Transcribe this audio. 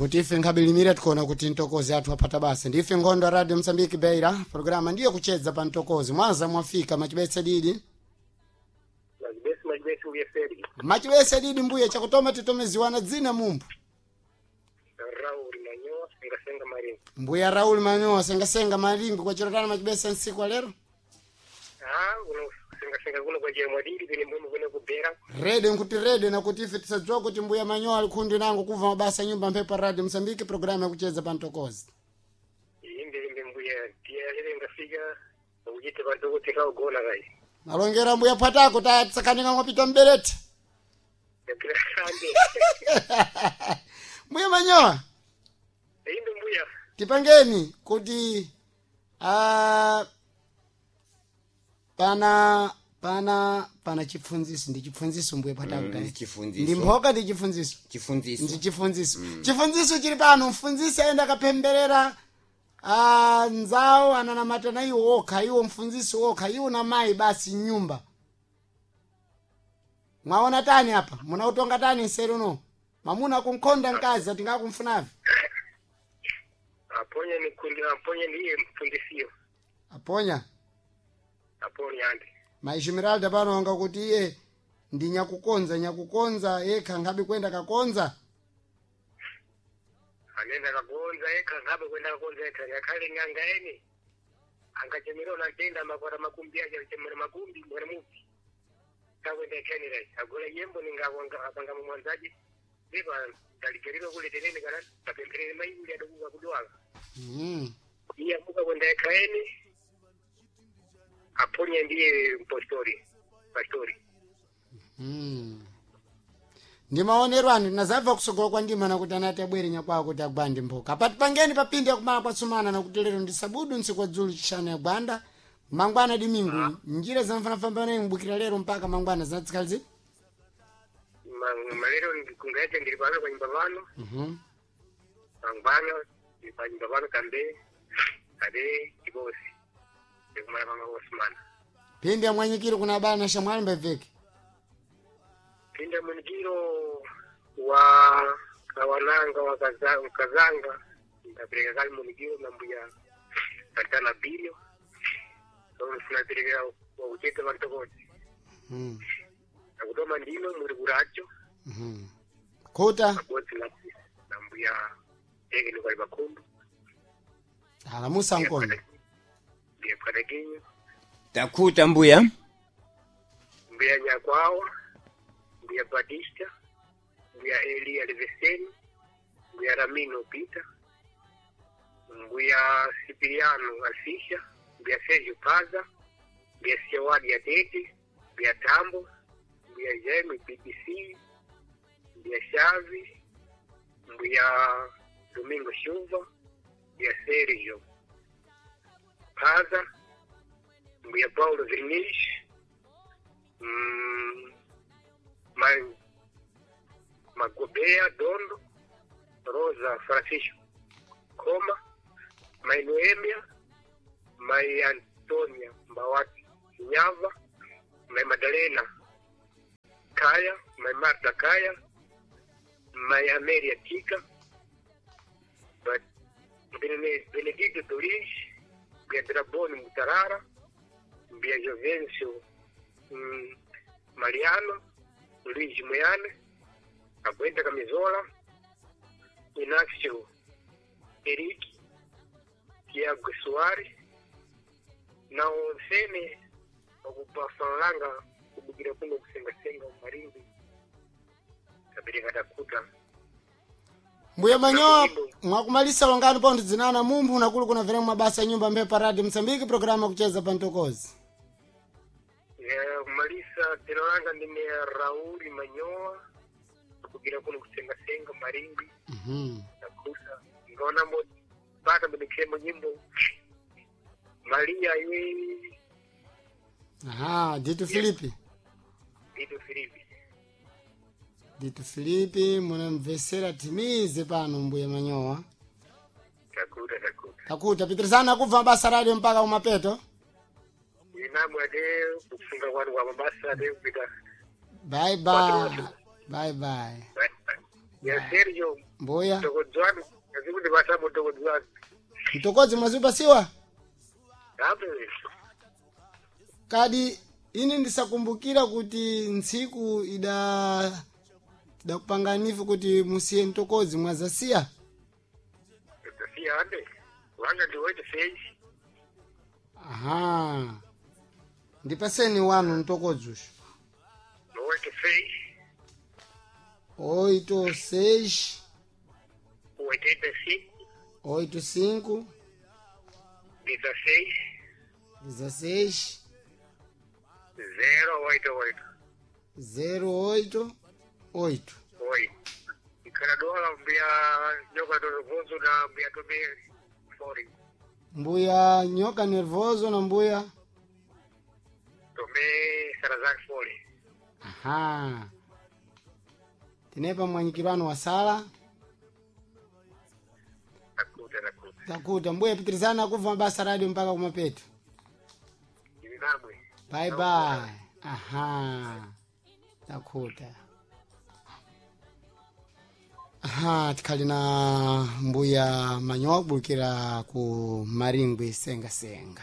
Nakuti ife nkhabilimira tikuona kuti mtokozi athu apata basa. Ndife Nkhondo ya Radio Msambiki Beira, programa ndiyo kuchedza pa mtokozi. Mwanza mwafika machibese didi. Machibesi, machibesi mbuye Feri. Machibese didi mbuye chakutoma titomeziwana dzina mumbu. Raul Manyoa, senga senga maringo. Mbuya Raul Manyoa senga senga maringo kwa chirotana machibese nsiku wa lero. Ah, uno senga senga kuno kwa jere mwadiri vile mwe mwene kubera. Rede nkuti rede nakuti ife tisadziwa kuti mbuya Manyoa alikhundi nango kuva mabasa nyumba mphepo Radio Msambiki programu yakucheza pa mtokozi. Imbe imbe mbuya tia lele ngafika ujite bantu kutika ugona kai. Malongera mbuya pwatako tatsakanika mwapita mberete. Grande. Mbuya Manyoa Imbe mbuya. tipangeni kuti pana chipfunziso ndi chipfunziso mbuye pwatako Mm, tayi. ndi chifunziso. Ndi mphoka ndi chifunziso. Chifunziso. Ndi chifunziso. Chifunziso chili pano mfunzisi ayenda akapemberera nzawo ananamata na iwo okha iwo mfunzisi okha iwo na mayi basi nyumba. Mwaona tani apa munautonga tani nseru no mamuna kunkhonda mkazi atingakumfunavi. Aponya ni kundi aponya ndiye mfundisio. Aponya. Aponya ande. Maishimiralda pano anga kuti iye ndi nyakukonza nyakukonza yekha nkhabe kwenda kakonza. Anenda kagonza eka ngabe kwenda kagonza eka ngakhale nganga ene. Angachemera unatenda makwara makumbi aje achemera makumbi mwana mupi. Takwenda kenera agola yembo ningawanga apanga mwanzaji. Ndipa ndaligeriro kule tenene kana tapemberere mai uli adokuka kudwala. Iye amuka kwenda eka ene. Aponya ndiye mpostori. Pastori. Ndi maonero anu tinazabva kusogola kwa ndima nakuti anati abwere nyakwawo kuti agwande mphoka. Apati pangeni papindi yakumala kwatsumana nakuti lero ndi sabudu ntsiku wa dzulu chishanu ya gwanda mangwana dimingu njira zamfanafambana mbukira lero mpaka mangwana zinatsikalizi. Malero kungaita ndiri pano pa nyumba pano. Mangwana ndiri pa nyumba pano kambe ade chibosi. Ndikumala panga osmana. Pindi ya mwanyikiro kuna bana shamwali mbeveke. Pinda munikiro wa kawananga wa kazanga ndapereka kali munikiro na mbuya katana bilio so sinapereka wa kucheta vantokozi. Nakutoma ndino muri kuracho. Khuta. Abodzi na mbuya eke nikwali pakhumbu. Alamusa nkono. Mbuya pwatakinyo. Takhuta mbuya. Mbuya nyakwawa, mbuya Batista, mbuya Elia Leveseni, mbuya Ramino Peter, mbuya Sipiriano Alfisha, mbuya Sergio Paza, mbuya Siawadi ya Tete, mbuya Tambo, mbuya Jaime BBC, mbuya Shavi, mbuya Domingo Chuva, mbuya Sergio Paza, mbuya Paulo Verniz, Magobea Dondo, Rosa Francisco Koma, Mai Noemia, Mai Antonia Mbawati Nyava, Mai Madalena Kaya, Mai Marta Kaya, Mai Amelia Tika, Benedito Doris, Bia Draboni Mutarara, Bia Jovencio Mariano, Luiz Moiane, Aguenta Camisola, Inácio Eric, Tiago Soares, na onsene okupafanlanga kubukira kuno kusengasenga umarimbi kabereka takuta. Mbuya Manyoa mwakumalisa longani pontho dzinana mumphu nakulu kuna veremu mabasa nyumba mphepo Radio Msambiki programu yakucheza pa mtokozi. Kumalisa dzina langa ndine Rauli Manyoa kubukira kuno kusengasenga marimbi. Takuta ngaona mbo pata mbenikhemo nyimbo Maria ye. Aha, Dito Filipe. Dito Filipe. Dito Filipe munamvesera timize pano mbuya Manyoa. Takuta takuta. Takuta pitirizana kubva mabasa radio mpaka kumapeto. Inamwe ate kufunga kwanu kwa mabasa ate kupita. Bye bye. Bye bye. Bye bye. Ya Sergio Mbuya. Mtokodzwani azikuti pasapo mtokodzwani. Mtokodzi mwazipasiwa? Ape Kadi ini ndisakumbukira kuti ntsiku ida idakupanganifu kuti musiye mtokodzi mwazasiya. tasiya ande. Wanga ndi 86. Aha. Ndipaseni wanu mtokodzi ushu. 86 86 85 85 16 16 088. 08 8. Oi. Ikhala dola mbuya nyoka totovozo na mbuya tome sorry. Mbuya nyoka nervoso na mbuya. Tome Salazar Fori. Aha. Tinepa mwanyikirano wa sala. Takuta takuta. Takuta mbuya pitirizana kubva mabasa radio mpaka kumapeto. Ili namwe. Bye bye. Aha. Takuta. Aha, tikhali na mbuya manyowa kubulukira ku Maringwe senga senga.